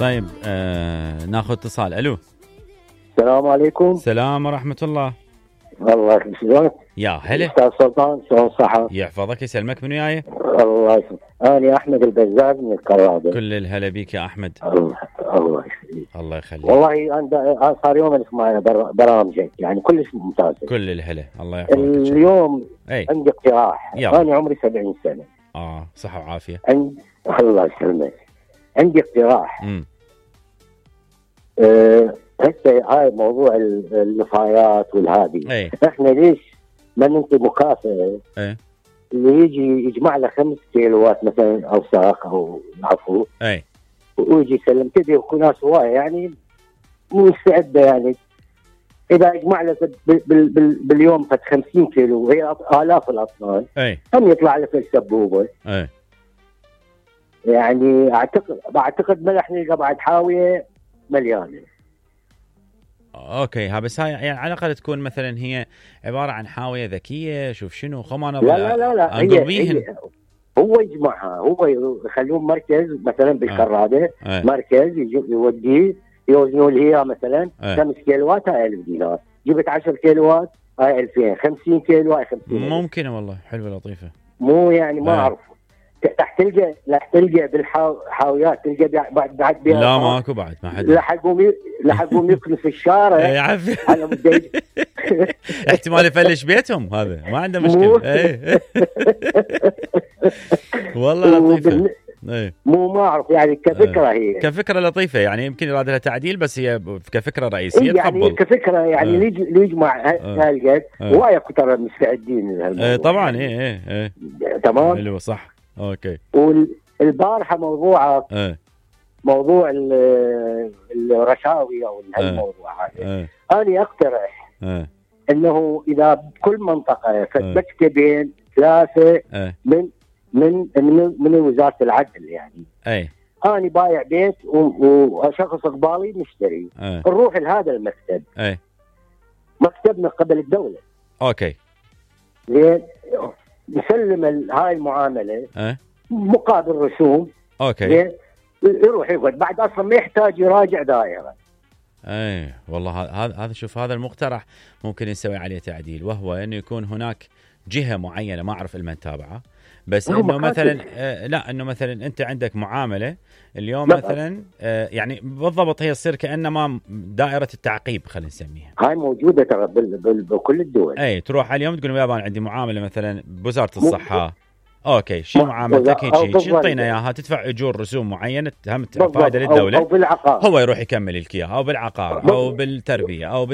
طيب ناخذ اتصال. الو السلام عليكم. السلام ورحمة الله. الله يسلمك يا هلا استاذ سلطان، شلون صحة؟ يحفظك يسلمك. منو وياي؟ الله يسلمك. انا احمد البزاز من الكرادة. كل الهلا بيك يا احمد. الله يخليك. الله يخليك. والله انا صار يوم اسمع برامجك يعني كلش ممتازة. كل الهلا. الله يحفظك. اليوم اي عندي اقتراح. انا عمري 70 سنة. صحة وعافية. الله يسلمك. عندي اقتراح. هسه هاي موضوع النفايات والهادي. احنا ليش ما ننطي مكافأة اللي يجي يجمع له 5 كيلوات مثلا او ساق او عفو ويجي يسلم كذا، ويكون ناس هوايه يعني مستعده يعني اذا يجمع له باليوم 50 كيلو وهي الاف الاطنان هم يطلع له في السبوبه. يعني اعتقد ملح نلقى بعد حاويه مليانه. اوكي بس هاي يعني على الاقل تكون مثلا هي عباره عن حاويه ذكيه. شوف شنو خمانه. لا هي هو يجمعها، هو يخلوهم مركز مثلا بالكراده. مركز يوديه يوزنوا لي هي مثلا 5 كيلوات هاي 1000 دينار، جبت 10 كيلوات هاي 2000، 50 كيلو هاي 50. ممكن والله حلوه لطيفه. مو يعني ما اعرف راح تلقى بالحاويات تلقى بعد لا ماكو بعد ما حد لحقهم يكنس الشارع. يعفي احتمال يفلش بيتهم، هذا ما عنده مشكله. والله لطيفه. مو ما اعرف يعني كفكره هي كفكره لطيفه يعني يمكن يراد لها تعديل، بس هي كفكره رئيسيه يعني تقبل. كفكره يعني اللي يجمع هالقد هوايه كثر مستعدين لهالموضوع. طبعا تمام حلو صح. اوكي. والبارحه موضوع الرشاوي او هالموضوع هذا انا اقترح انه اذا بكل منطقه مكتبين 3 من وزاره العدل يعني انا بايع بيت وشخص قبالي مشتري نروح لهذا المكتب. مكتب من قبل الدوله. اوكي زين نسلم هاي المعامله مقابل رسوم. اوكي يروح يقعد بعد اصلا ما يحتاج يراجع دائره. والله هذا شوف هذا المقترح ممكن نسوي عليه تعديل، وهو انه يكون هناك جهه معينه ما اعرف المن تابعه، بس انه مثلا لا انه مثلا انت عندك معامله اليوم مثلا يعني بالضبط هي تصير كانما دائره التعقيب خلينا نسميها. هاي موجوده ترى بكل الدول. تروح اليوم تقول يابا عندي معامله مثلا بوزاره الصحه. اوكي شو معاملتك؟ هيك يعطينا اياها، تدفع اجور رسوم معينه هم فائده للدوله، أو بالعقار. هو يروح يكمل لك اياها، او بالعقار او بالتربيه او